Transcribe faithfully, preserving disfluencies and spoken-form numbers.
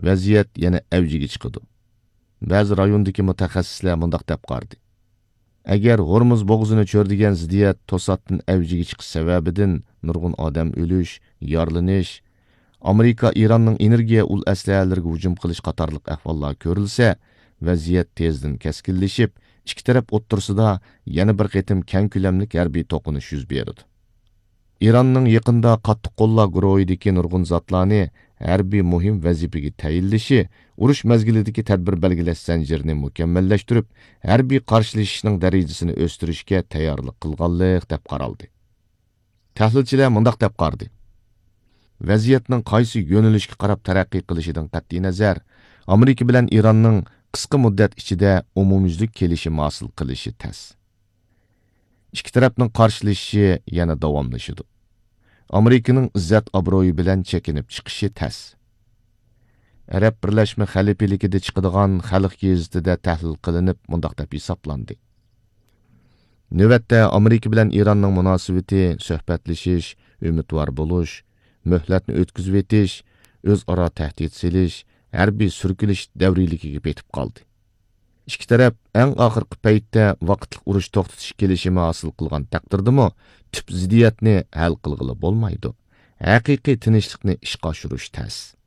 ۋەزىيەت يەنە ئەۋجىگە چىقىدۇ. بەزى رايوندىكى مۇتەخەسسىسلەر مۇنداق دەپ قارىدى: ئەگەر ھورمۇز بوغۇزىنى چۆرىدىگەن زىددىيەت توساتتىن ئەۋجىگە چىقىش سەۋەبىدىن نۇرغۇن ئادەم ئۆلۈش، يارىلىنىش، ئامېرىكا ئىراننىڭ ئېنېرگىيە ئۇل ئەسلىھەلىرىگە ھۇجۇم قىلىش قاتارلىق ئەھۋاللار كۆرۈلسە، ۋەزىيەت تېزدىن كەسكىنلىشىپ، ئىككى تەرەپ ئوتتۇرىسىدا يەنە بىر قېتىم كەڭ كۆلەملىك ھەربىي توقۇنۇش يۈز بېرىدۇ. ئىراننىڭ يېقىندا قاتتىق قوللار گۇرۇھىدىكى نۇرغۇن زاتلارنى ھەربىي مۇھىم ۋەزىپىگە تەيىنلىشى، ئۇرۇش مەزگىلىدىكى تەدبىر بەلگىلەش زەنجىرىنى مۇكەممەللەشتۈرۈپ، ھەربىي قارشىلىشىشنىڭ دەرىجىسىنى ئۆستۈرۈشكە تەييارلىق قىلغانلىق دەپ قارالدى. تەھلىلچىلەر مۇنداق دەپ قارىدى: ۋەزىيەتنىڭ قايسى يۆنىلىشكە قاراپ تەرەققىي قىلىشىدىن قەتئىينەزەر، ئامېرىكا بىلەن ئىراننىڭ قىسقا مۇددەت ئىچىدە ئومۇميۈزلۈك كېلىشىم ھاسىل قىلىشى تەس. ئىككى تەرەپنىڭ قارشىلىشىشى يەنە داۋاملىشىدۇ. ئامېرىكىنىڭ ئىززەت-ئابرۇيى بىلەن چېكىنىپ چىقىشى تەس. ئەرەب بىرلەشمە خەلىپىلىكىدە چىقىدىغان خەلق گېزىتىدە تەھلىل قىلىنىپ، مۇنداق دەپ ھېسابلاندى: نۆۋەتتە ئامېرىكا بىلەن ئىراننىڭ مۇناسىۋىتى سۆھبەتلىشىش، ئۈمىدۋار بولۇش، مۆھلەتنى ئۆتكۈزۈۋېتىش، ئۆزئارا تەھدىت سېلىش، ھەربىي سۈركىلىش دەۋرىيلىكىگە پېتىپ قالدى. ئىككى تەرەپ ئەڭ ئاخىرقى پەيتتە ۋاقىتلىق ئۇرۇش توختىتىش كېلىشىمى ھاسىل قىلغان تەقدىردىمۇ، تۈپ زىددىيەتنى ھەل قىلغىلى بولمايدۇ. ھەقىقىي تىنچلىقنى ئىشقا ئاشۇرۇش تەس.